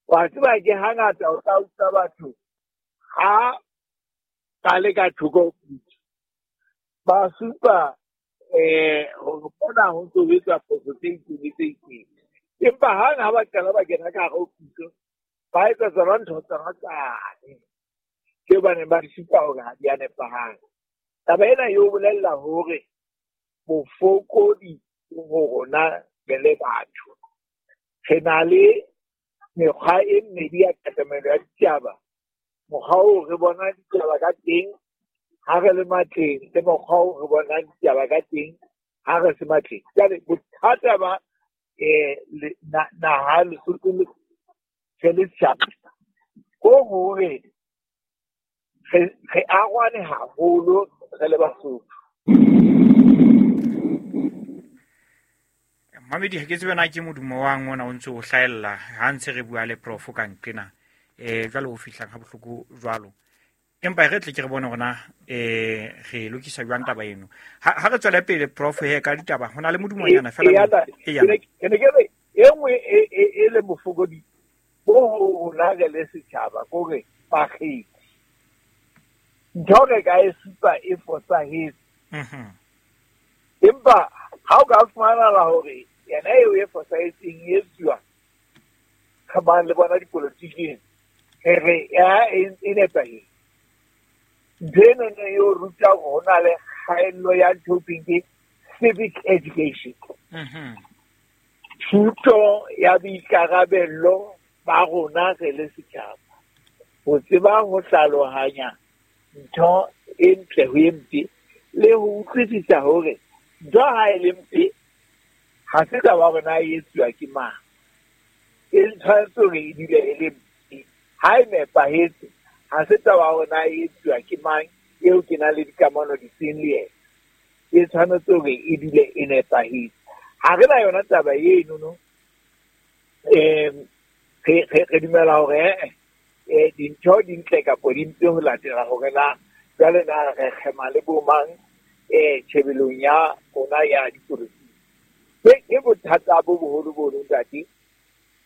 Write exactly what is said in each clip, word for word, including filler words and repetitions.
Wa tseba ke hangata o tla utlwa batho ha ba le ka thoko ba supa eh hore mona ho ntso ho etswa phoso tse itseng le tse itseng. Empa hang ha ba qala ba kena ka hare ho puso, ba etsa tsona ntho tsona tsane tseo ba neng ba di supa hore ha di a nepahala. Taba ena e o bolella hore bofokodi bo ho rona re le batho. Re na le mekgwa e mmedi ya katamelo ya ditaba. Mokgwa oo re bona ditaba ka teng ha re le matleng, le mokgwa oo re bona ditaba ka teng ha re se matleng. Jwale bothata ba eh naha Lesotho le re le setjhaba ko hore re re arwane haholo re le Basotho. Mamedi, ha ke tsebe na ke modumo wa ngwana o ntse o hlahella ha ntse re bua le prof ka nqena eh jwale o fihlang ha bohloko jwalo. Empa re tle ke re bone hore na eh re lokisa jwang taba eno. Ha ha re tswele pele prof he ka ditaba ho na le modumonyana fela. E ya ke ne ke re e nngwe e le bofokodi bo rona re le setjhaba kore bakgethi. Ntho re ka e supa e fosahetse. Mhm. Empa ha o ka fumana hore yena eo e fosahetseng e etsuwa khabang le bona dipolotiking, re re ya e nepahetse. Ntho eno e o ruta hore ho na le kgaello ya ntho e thweng ke civic education. Mhm. Thuto ya boikarabello ba rona re le setjhaba. Ho tseba ho hlalohanya ntho e ntle ho e mpe le ho utlwisisa hore ntho ha e le mpe ha se taba hore na e etsuwa ke mang. E tshwanetse hore e dule e le mpe. Ha e nepahetse ha se taba hore na e etsuwa ke mang eo ke nang le dikamano difeng le yena. E tshwanetse hore e dule e nepahetse. Ha re na yona taba eno no, em re re dumela hore eh dintho di ntle kapa di mpe ho latela hore na jwale na re kgema le bo mang eh tjhebelong ya rona ya dipolotiki. Ke bothata bo boholo bo ntate.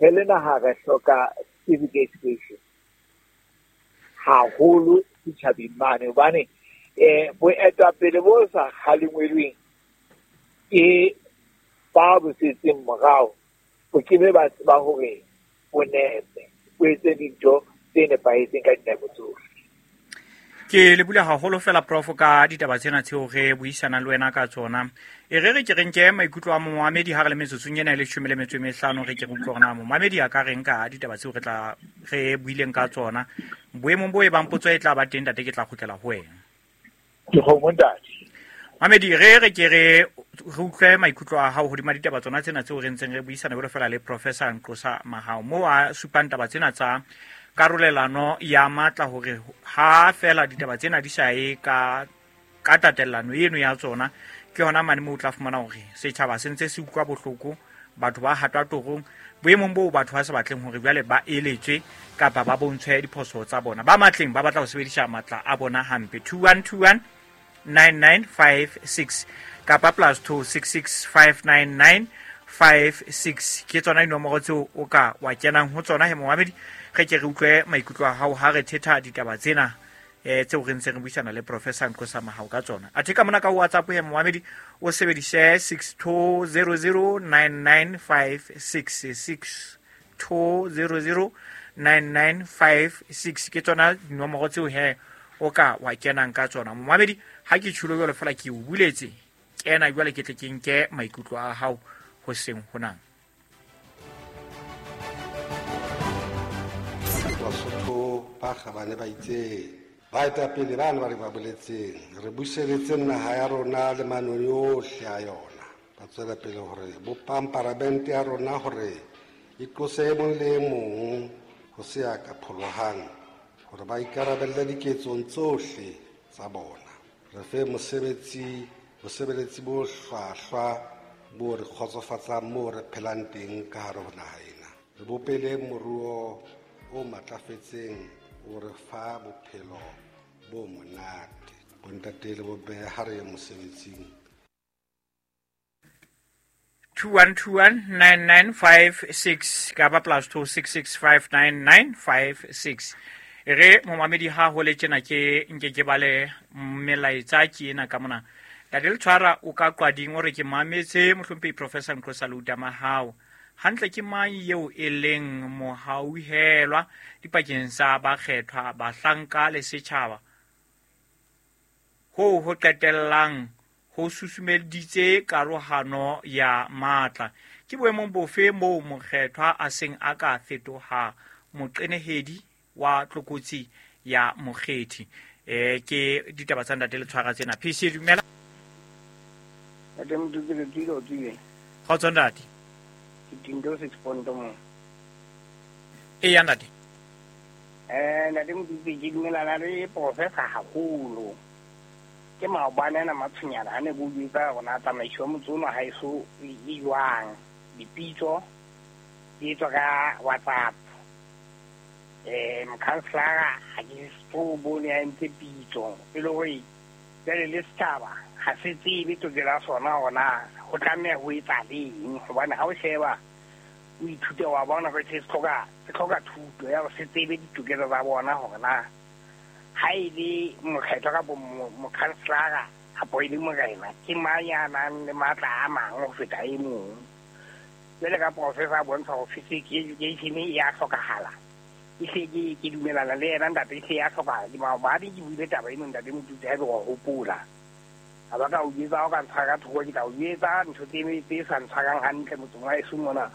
Re le naha re hloka civic education haholo setjhabeng mane, hobane eh boetapele bo sa kgalengwelweng ke ba bo setseng morao bo ke be ba tseba hore bo nepe, bo etse dintho tse nepahetseng ka dinako tsohle. Ke le bula haholo fela prof ka ditaba tsena tseo re buisanang le wena ka tsona. E re re ke re nke maikutlo a momamedi ha re le metsotsong ena e leshome le metso e mehlano, re ke re utlwe hore na momamedi a ka reng ka ditaba tseo re tla re buileng ka tsona. Boemong bo e bang potso e tla ba teng ntate, ke tla kgutlela ho wena. Ke kgomo ntate. Mamedi, re re ke re re utlwe maikutlo a hao hodima ditaba tsona tsena tseo re ntseng re buisana jwalo fela le Professor Nqosa Mahao, moo a supang taba tsena tsa karolelano ya matla hore ha fela ditaba tsena di sa ye ka ka tatellano eno ya tsona, ke hona mane moo o tla fumana hore setjhaba se ntse se utlwa bohloko, batho ba hatwa torong boemong boo batho ba sa batleng hore jwale ba eletswe kapa ba bontshwe diphoso tsa bona. Ba matleng ba batla ho sebedisa matla a bona hampe. two one two one nine nine five six kapa plus two six six five nine nine five six ke tsona dinomoro tseo o ka wa kenang ho tsona he momamedi. Re ke re utlwe maikutlo a hao ha re thetha ditaba tsena eh tseo re ntse re buisana le Professor Nqosa Mahao ka tsona. Athe ka mona ka WhatsApp he momamedi o sebedise six two zero zero nine nine five six, six two zero zero nine nine five six ke tsona dinomoro tseo he o ka wa kenang ka tsona. Momamedi, ha ke tjhulo jwalo fela ke o buletse, kena jwale ke tle ke nke maikutlo a hao ho seng honang. Basotho ba kgabane ba itse baetapele bana ba re ba boletseng re buseletse naha ya rona le manoni ohle a yona. Ba tswela pele hore bopang paramente ya rona hore e tlose e mong le e mong ho se ya ka pholohang, hore ba ikarabelle diketsong tsohle tsa bona. Re fe mosebetsi bosebeletsi bo hlwahlwa bo re kgotsofatsang moo re phelang teng ka hare ho naha ena. Re bopele moruo o matlafetseng o re fa bophelo bo monate. Bontate le bomme ha re ye mosebetsing. two one two one nine nine five six kapa plus two six six five nine nine five six. E re momamedi ha ho le tjena ke nke ke bale melaetsa ke ena ka mona. Ntate Letshwara o ka qwading o re ke mametse mohlomphehi Professor Nqosa Leuta Mahao. Hantle ke mang eo e leng mohauhelwa dipakeng sa bakgethwa, bahlanka le setjhaba? Hoo ho qetellang ho susumeditse karohano ya matla. Ke boemong bofe moo mokgethwa a seng a ka fetoha moqenehedi wa tlokotsi ya mokgethi? Eh ke ditaba tsa Ntate Letshwara tsena. P C dumela. Ntate Motutsi le tsile o tsile. Kgotso ntate. Ke Tindo six point mo. Eya ntate. Eh Ntate Motutsi ke dumelana le professor haholo. Ke maobane ana matshwenyana a ne bo jwetsa rona tsamaiso ya motse ono ha eso e jwang. Dipitso di etswa ka WhatsApp. Eh mokhanselara ha ke so bone a entse pitso. E le hore jwale le setjhaba ha se tsebe tokelo ya sona hore na ho tlameha ho etsa leng, hobane ha o sheba o ithute wa bona hore se hloka se hloka thuto ya hore se tsebe ditokelo tsa bona hore na ha e le mokgethwa kapo mokhanselara kapo e le morena ke mang ya nang le matla a mang ho feta e mong. Jwale ka professor a bontsha hore physics education e ya hlokahala. E hle ke ke dumelana le yena ntate, e hle ya hlokahala. Ke maobane ke buile taba eno ntate Motutsi ha ebe wa hopola. Ha ba ka o jwetsa ha o ka ntshwara ka thoko, ke tla o jwetsa ntho tse tse sa ntshwarang hantle motseng wa heso mona.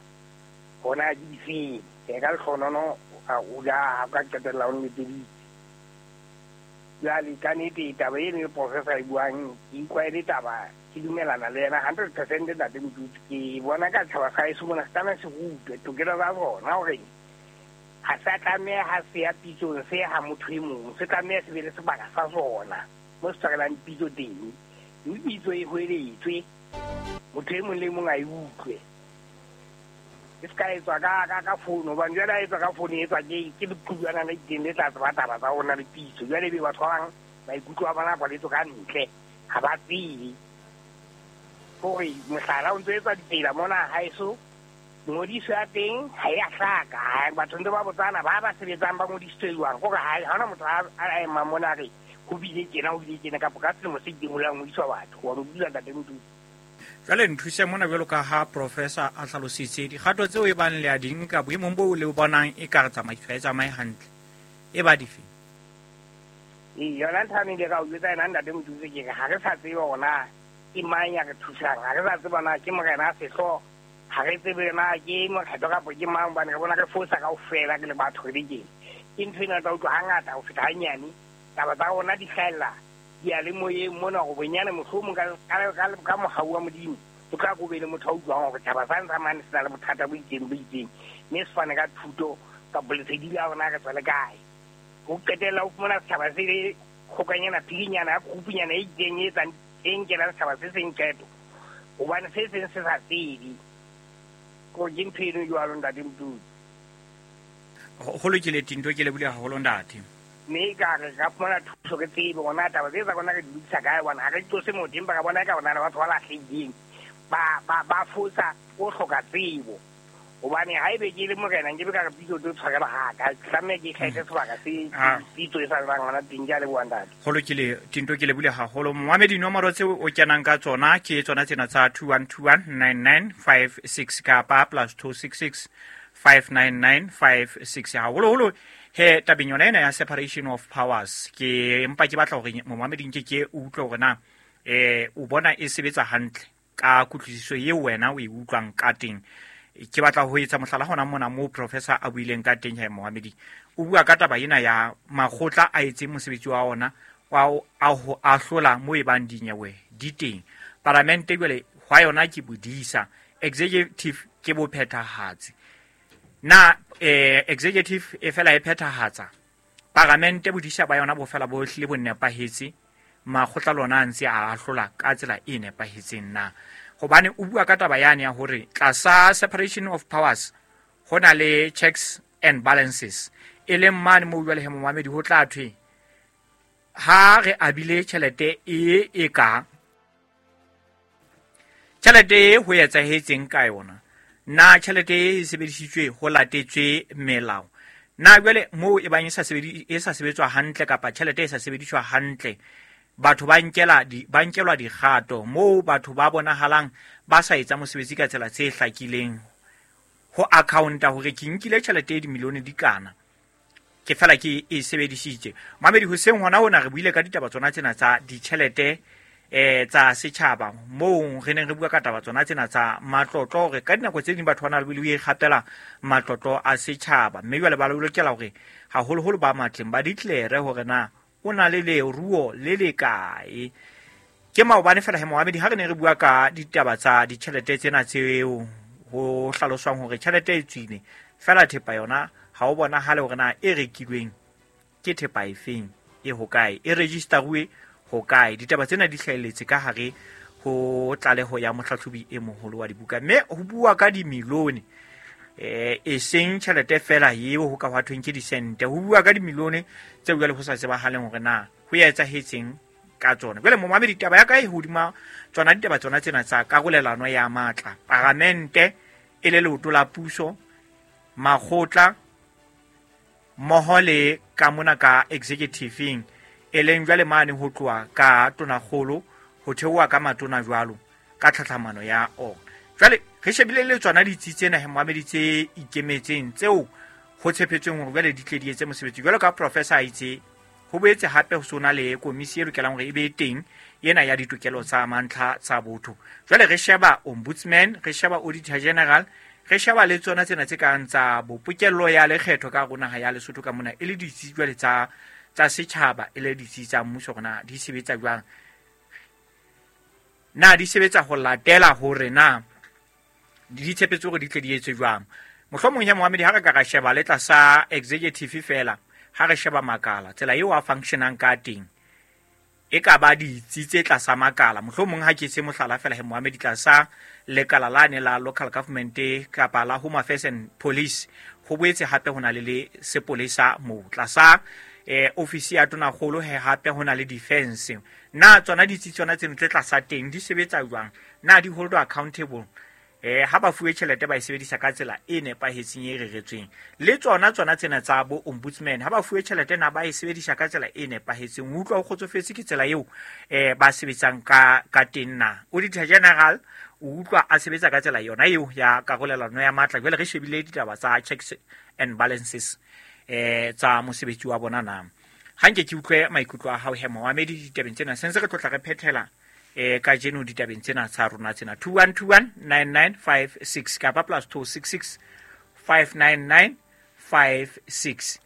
Hona ke difeng? Ke ka lehlohonono a o ja ha o ka qetella o nletseditse. Jwale ka nnete taba eno e professor e buang ke utlwa e le taba ke dumelana le yena hundred percent ntate Motutsi. Ke bona ka tjhaba sa heso mona se tlameha se rutwe tokelo tsa bona hore ha se a tlameha ha se ya pitsong se ha motho e mong, se tlameha se be le sebaka sa sona mo se tshwarelang pitso teng. Mme pitso e hweletswe motho e mong le mong a e utlwe. E se ka etswa ka ka ka founu, hobane jwale ha etswa ka founu e etswa ke ke leqhubjana le itseng le tla tseba taba tsa rona le pitso. Jwale ebe batho ba bang maikutlo a bona a kwaletswe ka ntle, ha ba tsebe. Hore mohlala o ntso etswa ditsela mona haeso, ngodiso ya teng ha e a hlaka. Batho ntse ba botsana ba ba sebetsang ba ngodisitswe jwang, hore ha hona motho a emang mona a re ho bile tjena ho bile tjena kapa ka selemo se itseng ho la ngodiswa batho. Wa mo bua ntate Motutsi. Jwale nthuse mona jwalo ka ha professor a hlalositse dikgato tseo e bang le a di nka boemong boo le bonang e ka re tsamaiso ha e tsamaye hantle e ba dife? Ee, yona ntho ane ke ka o jwetsa yena ntate Motutsi ke re ha re sa tsebe hore na ke mang ya re thusang, ha re sa tseba na ke morena a sehlooho, ha re tsebe na ke mokgetho kapo ke mang, hobane re bona re fosa kaofela re le batho re le tjena. Ke ntho ena tla utlwa hangata ho feta hanyane taba tsa rona di hlahella diyalemoyeng mona hore bonyane mohlomong ka ka ka mohau wa Modimo o tla ko be le motho a utlwang hore taba sa ntsa mane se na le bothata bo itseng bo itseng, mme se fane ka thuto kapo lesedi la rona re tswa le kae. Ho qetella o fumana setjhaba se le kgokanyana phirinyana ya group-nyana e itseng e etsang e nkelang setjhaba se seng qeto, hobane se seng se sa tsebe. Ko ke ntho eno jwalo ntate Motutsi. Ho lokile Tindo, ke lebohile haholo ntate. Mme ka re ka fumana thuso re tsebe hore na taba tse tsa rona re di lokisa kae, hobane ha re qose motho empa re bona eka rona le batho ba lahlehileng ba ba ba fosa o hloka tsebo. Hobane ha ebe ke le morena nke be ka re pitso tlo tshwarela ha ka tlameha ke kgethe sebaka se pitso e sa bang hona teng. Ke a leboha ntate. Ho lokile Tindo, ke lebohile haholo. Momamedi, dinomoro tseo o kenang ka tsona ke tsona tsena tsa two one two one nine nine five six kapa plus two six six five nine nine five six. Haholoholo he tabeng yona ena ya separation of powers, ke empa ke batla hore momamedi nke ke utlwe hore na eh o bona e sebetsa hantle ka kutlwisiso eo wena o e utlwang ka teng. Ke batla ho etsa mohlala hona mona moo professor a buileng ka teng he momamedi. O bua ka taba ena ya makgotla a etseng mosebetsi wa ona wa a ho ahlola mo e bang dinyewe di teng. Paramente jwale hwa yona ke bodisa, executive ke bophethahatsi. Na eh executive e fela e phethahatsa, paramente bodisa ba yona bo fela bo hlile bo nepahetse, makgotla lona a ntse a ahlola ka tsela e nepahetseng na? Hobane o bua ka taba yane ya hore tlasa separation of powers ho na le checks and balances, e leng mane moo jwale he momamedi ho tla thwe ha re abile tjhelete e e ka Tjhelete e ho etsahetseng ka yona, na tjhelete e sebedisitswe ho latetswe melao? Na jwale moo e bang e sa sebedi e sa sebetswa hantle kapa tjhelete e sa sebediswa hantle, batho ba nkela di ba nkelwa dikgato moo batho ba bonahalang ba sa etsa mosebetsi ka tsela tse hlakileng ho accounta hore ke nkile tjhelete e dimilione di kana ke fela ke e sebedisitse. Mamedi hoseng hona hona re buile ka ditaba tsona tsena tsa ditjhelete eh tsa setjhaba moo re neng re bua ka taba tsona tsena tsa matlotlo hore ka dinako tse ding batho ba na le ho ikgapela matlotlo a setjhaba, mme jwale ba lokela hore haholoholo ba matleng ba declare hore na o na le leruo le le kae. Ke maobane fela he Mohamedi ha re ne re bua ka ditaba tsa ditjhelete tsena tseo ho hlaloswang hore tjhelete e tswile fela thepa yona ha o bonahale hore na e rekilweng ke thepa efeng, e hokae, e registeruwe hokae. Ditaba tsena di hlahelletse ka hare ho tlaleho ya mohlahlobi e moholo wa dibuka, mme ho bua ka dimilione eh e seng tjhelete fela eo ho ka hwa thweng ke disente, ho bua ka dimilione tse jwale ho sa tsebahaleng hore na ho ya etsahetseng ka tsona. Jwale momamedi taba ya ka e hodima tsona ditaba tsona tsena tsa karolelano ya matla, paramente e le leoto la puso, makgotla mmoho le ka mona ka executive-ing e leng jwale mane ho tloha ka tonakgolo ho theoha ka matona jwalo ka tlhatlhamano ya ona. Jwale re shebile le tsona ditsi tsena he moamedi tse ikemetseng tseo ho tshepetsweng hore jwale di tle di etse mosebetsi jwalo ka professor a itse. Ho boetse hape ho sona le komisi e lokelang hore e be teng ena ya ditokelo tsa mantlha tsa botho. Jwale re sheba ombudsman, re sheba auditor general, re sheba le tsona tsena tse kang tsa bopokello ya lekgetho ka rona ha ya Lesotho ka mona e le ditsi jwale tsa tsa setjhaba e le ditsi tsa mmuso rona di sebetsa jwang, na di sebetsa ho latela hore na di tshepetse hore di tle di etswe jwang. Mohlomong ya Mohamedi ha re ka ra sheba le tlasa executive fela, ha re sheba makala tsela eo a functionang ka teng e ka ba ditsi tse tlasa makala. Mohlomong ha ke se mohlala fela he Mohamedi tlasa lekala la ne la local government kapa la Home Affairs and Police, ho boetse hape ho na le le sepolesa moo tlasa eh ofisi ya tonakgolo he hape ho na le defense. Na tsona ditsi tsona tseno tse tlasa teng di sebetsa jwang, na di hold accountable eh ha ba fuwe tjhelete ba e sebedisa ka tsela e nepahetseng e reretsweng? Le tsona tsona tsena tsa bo ombudsman ha ba fuwe tjhelete na ba e sebedisa ka tsela e nepahetseng? O utlwa o kgotsofetse ke tsela eo eh ba sebetsang ka ka teng na? Auditor general o utlwa a sebetsa ka tsela yona eo ya karolelano ya matla? Jwale re shebile ditaba tsa checks and balances eh tsa mosebetsi wa bona na. Ha nke ke utlwe maikutlo a hao he Mohamedi ditabeng tsena, sentse re tlotla re phethela eh kajeno ditabeng tsena tsa rona tsena. Two one two one nine nine five six kapa plus two six six five nine nine five six.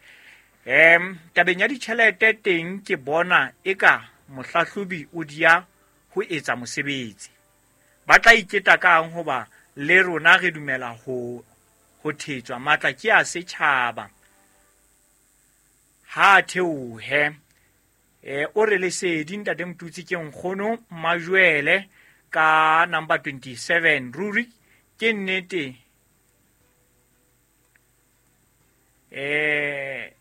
Em tabeng ya ditjhelete teng ke bona eka mohlahlobi o dia ho etsa mosebetsi. Ba tla iketa kang hoba le rona re dumela ho ho thetswa matla ke a setjhaba ha theohe. Eh o re lesedi ntate Motutsi ke nkgono Majuele ka number twenty-seven. Ruri ke nnete eh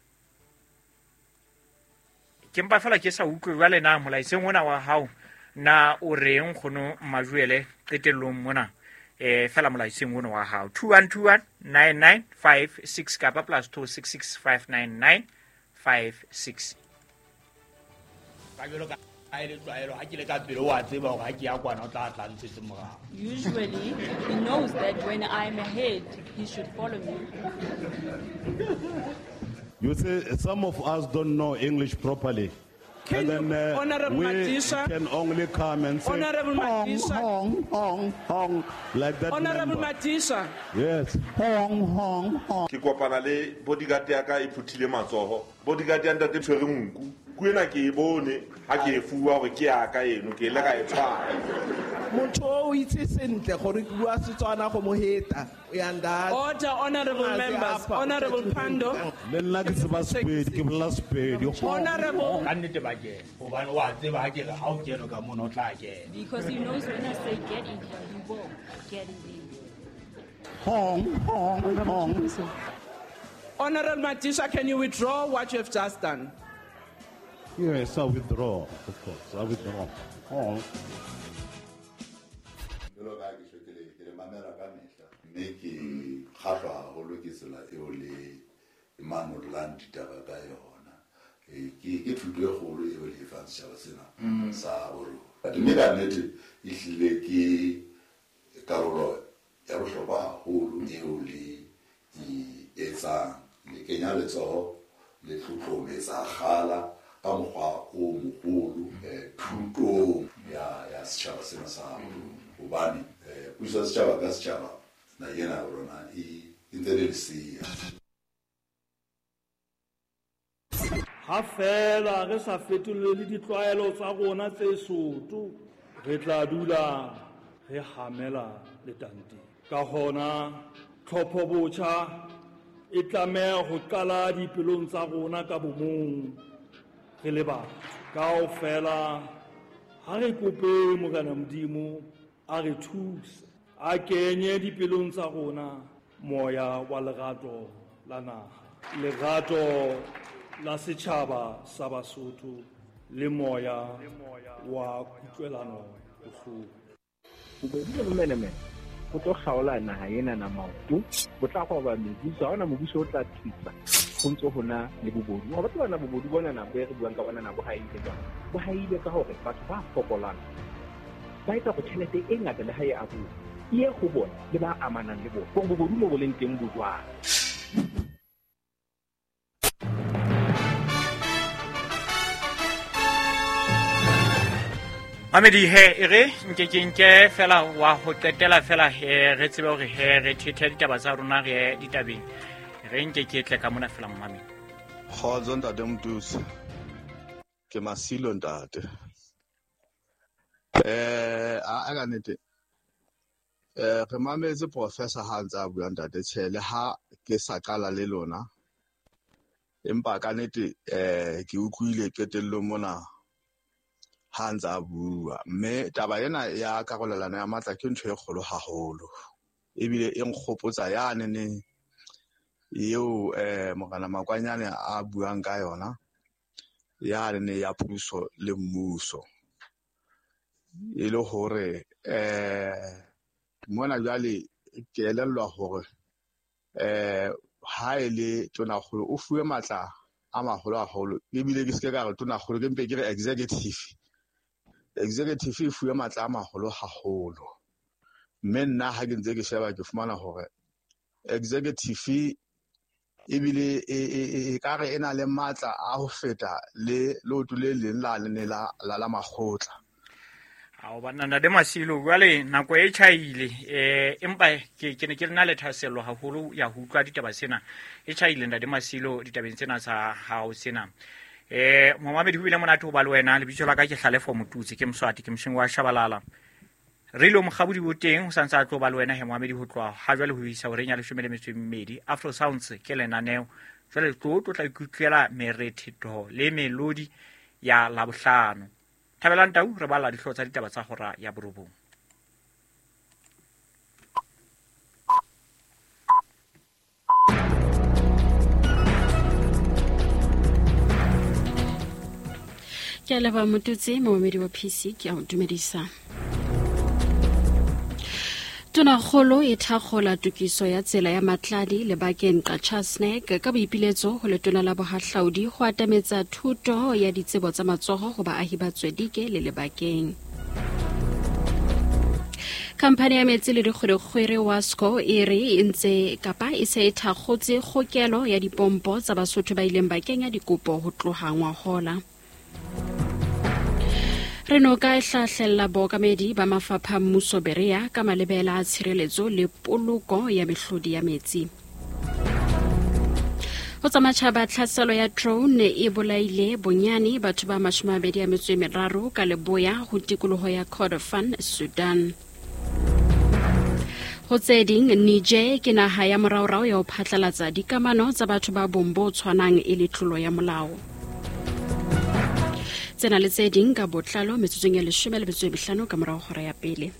ke mpa fela ke sa utlwe jwale na molaetseng ona wa hao na o reng nkgono Majuele qetellong mona eh fela molaetseng ona wa hao two one two one nine nine five six kapa plus two six six five nine nine five six. Usually, he knows that when I'm ahead, he should follow me. You see, some of us don't know English properly. Can and then you, uh, Honorable we Madisha, can only come and say, Honorable hong, Madisha, hong, hong, hong, like that. Honorable member. Madisha. Yes. Hong, hong, hong. Ke kopana le bodyguard ya ka e phuthile matsoho. Bodyguard ya ntate tshwere nku. Kuena ke e bone ha ke e fuwa hore ke ya ka eno ke ile ka e tshwara. Motho o itse sentle gore ke bua Setswana go mo heta. Order, honorable members. Honorable Pando. Le nna ke tseba Sepedi, ke bolela Sepedi. Honorable. Ka nnete ba kena. Hobane wa tseba ha ke re ha o kene ka mona o tla kena. Because he knows when I say get in here, he will get in there. Hong, hong, hong. Honorable Madisha, can you withdraw what you have just done? Yes, I withdraw, of course. I withdraw. Hong. Jwalo ka ke tjho ke le ke le mamela ka mehla mme ke kgahlwa haholo ke tsela eo le manollang ditaba ka yona. Ke ke thuto e kgolo eo le e fang setjhaba sena sa borona. Mme ka nnete ehlile ke karolo ya bohlokwa haholo eo le e etsang. Le kenya letsoho le tlotlometsa kgala ka mokgwa o moholo thutong ya ya setjhaba sena sa borona. Hobane puso ya setjhaba ka setjhaba na ena ya rona e ntse le lesea. Ha feela re sa fetolele ditlwaelo tsa rona tse soto, re tla dula re hamela letanteng. Ka hona tlhopho botjha e tlameha ho qala dipelong tsa rona ka bomong re le batho. Kaofela ha re kope Morena Modimo a re thuse, a kenye dipelong tsa rona moya wa lerato la naha, lerato la setjhaba sa Basotho le moya wa kutlwelano bohloko. Bobodu le bomenemene bo tlo kgaola naha ena na maoto, bo tla roba mebuso, ha hona mobuso o tla thusa ho ntso hona le bobodu. Wa batho bana bobodu bona na bo re buang ka bona na bo haile jwang? Bo haile ka hore batho ba fokolang ba etsa go tjhelete e ngata le ha e abuwa e ye ho bona le ba amanang le bona. Hore bobodu mo bo leng teng bo jwang? Mamedi he e re nke ke nke fela wa ho qetela fela he re tsebe hore he re thethe ditaba tsa rona re ditabeng. Re nke ke tle ka mona fela momamedi. Kgotso ntate Motuse. Ke Masilo ntate. Eh a ka nnete. Eh re mametse professor ha ntse a bua ntate tjhe le ha ke sa qala le lona. Empa ka nnete eh ke utlwile qetellong mona ha ntse a bua, mme taba ena ya karolelano ya matla ke ntho e kgolo haholo, ebile e nkgopotsa yane ne eo eh Morena Makwanyane a buang ka yona yane ne ya puso le mmuso, e le hore eh mona jwale ke elellwa hore eh ha e le tonakgolo o fuwe matla a maholo haholo, ebile ke se ka re tonakgolo ke mpe ke re executive. Executive e fuwe matla a maholo haholo, mme nna ha ke ntse ke sheba ke fumana hore executive ebile e ka re e na le matla a ho feta le leoto le leng la lene la la makgotla. Ao banna ntate Masilo, jwale nako e tjhaile eh empa ke ke ne ke na le thahasello haholo ya ho utlwa ditaba sena. E tjhaile ntate Masilo ditabeng tsena tsa hao sena. Eh momamedi ho bile monate ho ba le wena. Lebitso la ka ke Hlalefo Motutsi, ke Mswati, ke mosheng wa Shabalala. Re ile mokgabodi bo teng ho santse a tlo ba le wena he momamedi ho tloha ha jwale ho isa horeng ya leshome le metso e mmedi. Afro Sounds ke lenaneo. Jwale tlo tlo tla ikutlwela merethetho le melodi ya Labohlano. Thabelang Tau re bala dihlooho tsa ditaba tsa hora ya borobong. Ke a leboha Motutsi, momamedi wa P C, ke a o dumedisa. Tonakgolo e thakgola tokiso ya tsela ya Matladi lebakeng Qachatsnek ka boipiletso ho letona la bohahlaudi ho atametsa thuto ya ditsebo tsa matsoho ho baahi ba Tswedike le lebakeng. Khamphani ya metsi le dikgwerekgwere Wasco e re e ntse kapa e se e thakgotse kgokelo ya dipompo tsa Basotho ba ileng ba kenya dikopo ho tloha ngwahola. Re noka e hlahlella bookamedi ba mafapha mmuso Berea ka malebela a tshireletso le poloko ya mehlodi ya metsi. Ho tsa matjhaba, tlhaselo ya drone e bolaile bonyane batho ba mashome a mabedi a metso e meraro ka leboya ho tikoloho ya Kordofan, Sudan. Ho tse ding, Niger ke naha ya moraorao ya ho phatlalatsa dikamano tsa batho ba bong bo tshwanang e le tlolo ya molao. Tsena le tse ding ka botlalo metsotsong ya leshome le metso e mehlano ka morao hora ya pele.